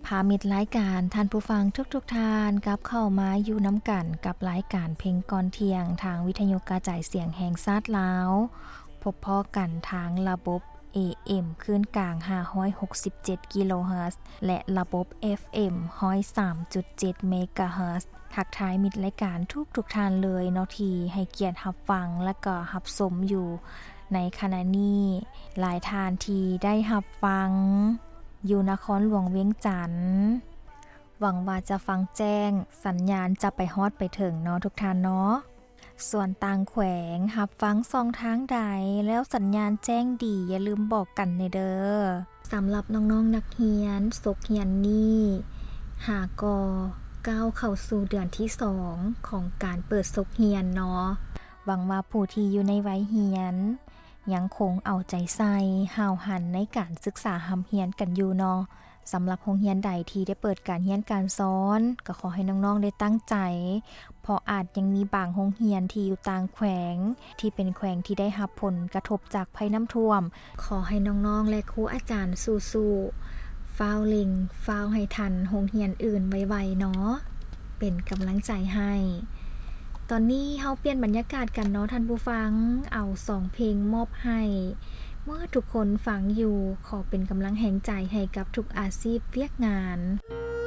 ພາມິດລາຍການ ທ່ານຜູ້ຟັງທຸກໆທ່ານ ກັບເຂົ້າມາຢູ່ນຳກັນກັບລາຍການເພງກ່ອນທ່ຽງ ທາງວິທະຍຸກະຈາຍສຽງແຫ່ງຊາດລາວ. ພົບພໍ້ກັນທາງລະບົບ ເອເອັມ ຄື້ນກາງ ຫ້າຮ້ອຍຫົກສິບເຈັດ ກິໂລເຮີດ ແລະ ລະບົບ ເອັຟເອັມ ຮ້ອຍສາມຈຸດເຈັດ ເມກາເຮີດ. ທັກທາຍມິດລາຍການທຸກໆທ່ານເລີຍເນາະ ທີ່ໃຫ້ກຽດຮັບຟັງ ແລະ ກໍຮັບຊົມຢູ່ໃນຂະນະນີ້. ຫຼາຍທ່ານທີ່ໄດ້ຮັບຟັງຢູ່ນະຄອນຫຼວງວຽງຈັນ ຫວັງວ່າຈະຟັງແຈ້ງ, ສັນຍານຈະໄປຮອດໄປເຖິງເນາະທຸກທ່ານເນາະ. ສ່ວນຕ່າງແຂວງ ຮັບຟັງຊ່ອງທາງໃດ ແລ້ວສັນຍານແຈ້ງດີ ຢ່າລືມບອກກັນແດ່ເດີ. ສຳລັບນ້ອງໆນັກຮຽນ ສົກຮຽນນີ້ຫາກໍກ້າວເຂົ້າສູ່ເດືອນທີສອງຂອງການເປີດສົກຮຽນເນາະ. ຫວັງວ່າຜູ້ທີ່ຢູ່ໃນໄວຮຽນ ຍັງຄົງເອົາໃຈໃສ່ ຫ້າວຫັນໃນການສຶກສາຮ່ຳຮຽນກັນຢູ່ເນາະ. ສຳລັບໂຮງຮຽນໃດທີ່ໄດ້ເປີດການຮຽນການສອນ ກໍຂໍໃຫ້ນ້ອງໆໄດ້ຕັ້ງໃຈ ເພາະອາດຍັງມີບາງໂຮງຮຽນທີ່ຢູ່ຕ່າງແຂວງ ທີ່ເປັນແຂວງທີ່ໄດ້ຮັບຜົນກະທົບຈາກໄພນ້ຳຖ້ວມ. ຂໍໃຫ້ນ້ອງໆ ແລະ ຄູອາຈານສູ້ໆ ຟ້າວເລັ່ງ ຟ້າວໃຫ້ທັນໂຮງຮຽນອື່ນໄວໆເນາະ ເປັນກຳລັງໃຈໃຫ້. ຕອນນີ້ເຮົາປ່ຽນບັນຍາກາດກັນເນາະທ່ານຜູ້ຟັງ, ເອົາສອງເພງມອບໃຫ້ເໝິດທຸກຄົນຟັງຢູ່. ຂໍເປັນກຳລັງແຮງໃຈໃຫ້ກັບທຸກອາຊີບວຽກງານ.